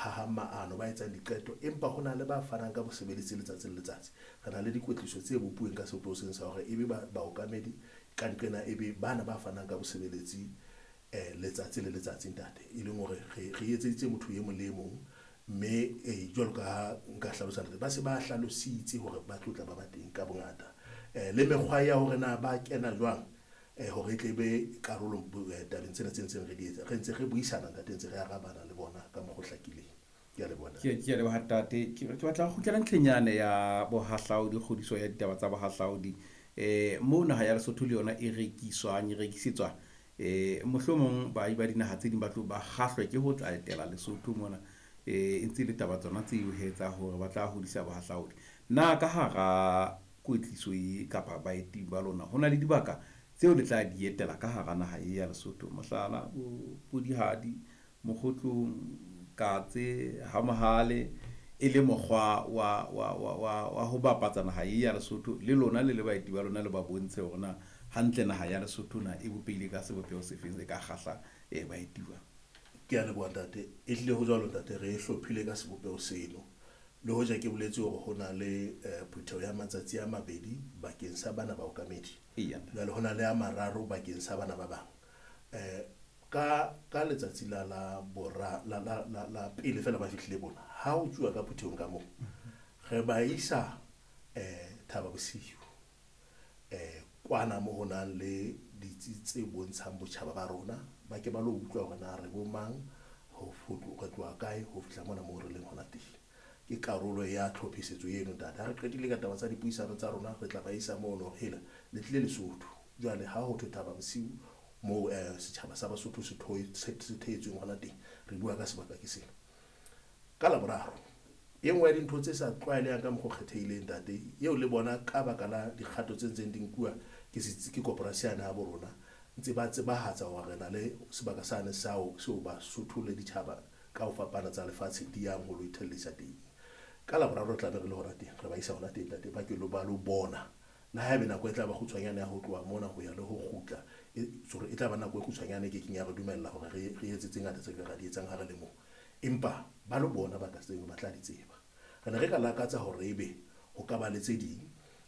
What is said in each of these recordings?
hahang maano, ba etsang diqeto, empa ho na le ba fanang ka bosebeletsi letsatsi le letsatsi. Re na le dikwetliso tse bopuweng ka sebopeho seng sa hore ebe baokamedi ka nqena, ebe bana ba fanang ka bosebeletsi letsatsi le letsatsi ntate, e leng hore re etseditse motho e mong le e mong. Mme jwalo ka ha nka hlalosa ntate, ba se ba hlalositse hore ba tlo tla ba ba teng ka bongata. Le mekgwa ya hore na ba kena jwang hore e tle be karolo tabeng tsena tse ntseng re di etsa. Re ntse re buisana ntate, ntse re arabana le bona ka mokgwa o hlakileng. Ke a leboha ntate. Ke a leboha ntate. Ke batla ho kgutlela ntlheng yane ya bohahlaudi, kgodiso ya ditaba tsa bohahlaudi. Moo naha ya Lesotho le yona e rekiswang, e rekisetswa. Mohlomong baahi ba dinaha tse ding ba tlo ba kgahlwe ke ho tla etela Lesotho mona. E ntse le taba tsona tseo he tsa hore ba tla hodisa bohahlaudi. Na ka hara kwetliso e kapa baeti ba lona ho na le dibaka tseo le tla di etela ka hara naha e ya Lesotho, mohlala bo Podihadi, Mokgotlong, Katse, ha Mohale, e le mokgwa wa ho bapatsa naha e ya Lesotho le lona le le baeti ba lona le ba bontshe hore na hantle naha ya Lesotho na e bopehile ka sebopeho sefeng se ka kgahla baeti ba. Ke a leboha ntate. E hlile ho jwalo ntate, re e hlophile ka sebopeho seno. Le hoja ke boletse hore ho na le phutheho ya matsatsi a mabedi bakeng sa bana baokamedi. Jwale ho na le a mararo bakeng sa bana ba bang. Ka letsatsi la la bora la la la la pele fela ba fihlile bona, ha o tsuwa ka phuthehong ka moo, re ba isa Thaba Bosiu. Kwana mo ho nang le ditsi tse bontshang botjhaba ba rona, ba ke ba lo utlwa hore na re bo mang, ho re tloha kae ho fihla mona moo re leng hona teng. Ke karolo ya tlhophisetso eno ntate. Ha re qetile ka taba tsa dipuisano tsa rona, re tla ba isa mono hore hela le tlile Lesotho. Jwale ha ho thwe Thaba Bosiu moo setjhaba sa Basotho se theetsweng hona teng, re bua ka sebaka ke sena. Ka Laboraro, e nngwe ya dintho tse sa tlwaelehang ka mokgwa o kgethehileng ntate, eo le bona ka baka la dikgato tse ntseng di nkuwa ke setsi, ke koporasi yane ya bo rona, ntse ba tsebahatsa hore re na le sebaka sane seo Basotho le ditjhaba ka ho fapana tsa lefatshe di yang ho lo ithellisa teng. Ka Laboraro re tla be re le hona teng, re ba isa hona teng ntate, ba ke lo ba lo bona. Le haebe nako e tla ba kgutshwanyane ya ho tloha mona ho ya le ho kgutla, sorry, e tla ba nako e kgutshwanyane e kekeng ya re dumella hore re etse tse ngata tse ka di etsang ha re le moo. Empa ba lo bona baka tseno, ba tla di tseba. Re ne re ka lakatsa hore ebe ho ka ba le tse ding,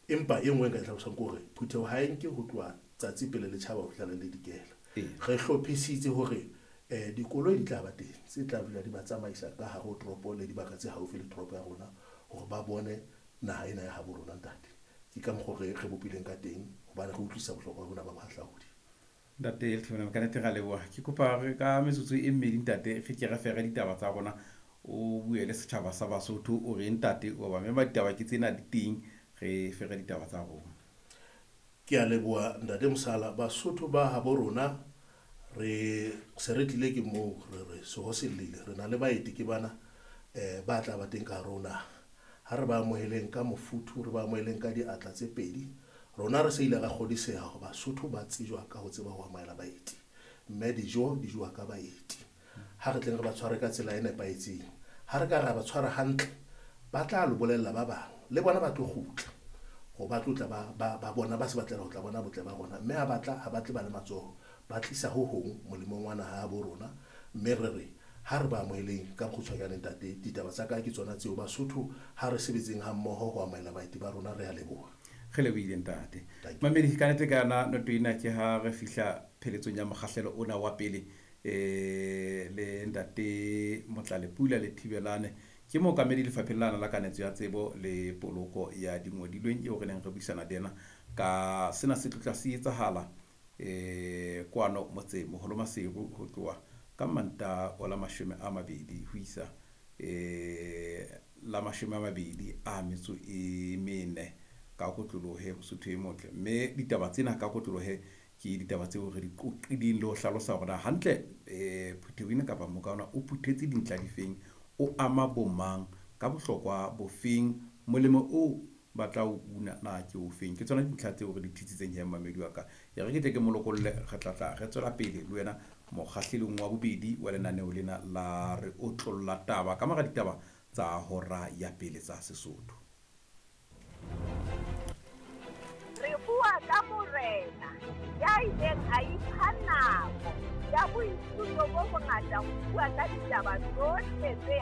empa e nngwe nka e hlalosang ke hore phutheho ha e nke ho tloha tsatsi pele le tjhaba ho fihla le le dikela. Re hlophisitse hore dikoloi di tla ba teng tse tla dula di ba tsamaisa ka hare ho toropo le dibaka tse haufi le toropo ya rona hore ba bone naha ena ya habo rona ntate. Ke ka mokgwa re bopileng ka teng hobane re utlwisisa bohlokwa bona ba bohahlaudi. Ntate Letlhomela, ka nnete ra leboha. Ke kopa re ka metsotso e mmedi ntate, re ke re fere ditaba tsa rona, o bue le setjhaba sa Basotho, o re ntate o ba mema ditaba ke tsena di teng, re fere ditaba tsa rona. Ke a leboha ntate Mosala. Basotho ba habo rona re se re tlile ke moo re re seho se llile, re na le baeti ke bana ba tla ba teng ka hare ho naha. Ha re ba amoheleng ka mofuthu, re ba amoheleng ka diatla tse pedi. Rona re se ile ra kgodiseha hore Basotho ba tsejwa ka ho tseba ho amohela baeti, mme dijo di jowa ka baeti. Ha re tleng re ba tshware ka tsela e nepahetseng. Ha re ka ra ba tshwara hantle, ba tla lo bolella ba bang, le bona ba tlo kgutla hore ba tlo tla ba bona, ba se ba tlela ho tla bona botle ba rona. Mme ha ba tla, ha ba tle ba le matsoho, ba tlisa ho hong molemong wa naha ya bo rona. Mme re re ha re ba amoheleng ka bokgutshwanyane ntate. Ditaba tsa ka ke tsona tseo. Basotho ha re sebetseng ha mmoho ho amohela baeti ba rona, re a leboha. Re lebohile ntate. Mamedi, ka nnete ka yona noto ena ke ha re fihla pheletsong ya mokgahlelo ona wa pele le ntate Motlalepula le Thibelane. Ke mookamedi lefapheng lana la kanetso ya tsebo le poloko ya dingodilweng eo re neng re buisana le yena ka sena se tlotla se etsahala kwano motseng moholo Maseru ho tloha ka Mantaha wa la 20 ho isa la 24 ka kotlolohe Mosotho e motle. Mme ditaba tsena ka kotlolohe ke ditaba tseo re di qoqileng le ho hlalosa hore na hantle phutheho ena kapa moka ona o phuthetse dintlha difeng, o ama bomang ka bohlokwa bofeng, molemo o ba tla o una na ke ofeng. Ke tsona dintlha tseo re di thitsitseng he mmamedi wa ka. E re ke tle ke molokolle, re tla tla re tswela pele le wena mokgahlelong wa bobedi wa lenaneo lena la re otlolla taba ka mora ditaba tsa hora ya pele tsa Sesotho. Re bua ka morena ya ileng a ipha nako ya boithuto bo bongata ho bua ka ditaba tsohle tse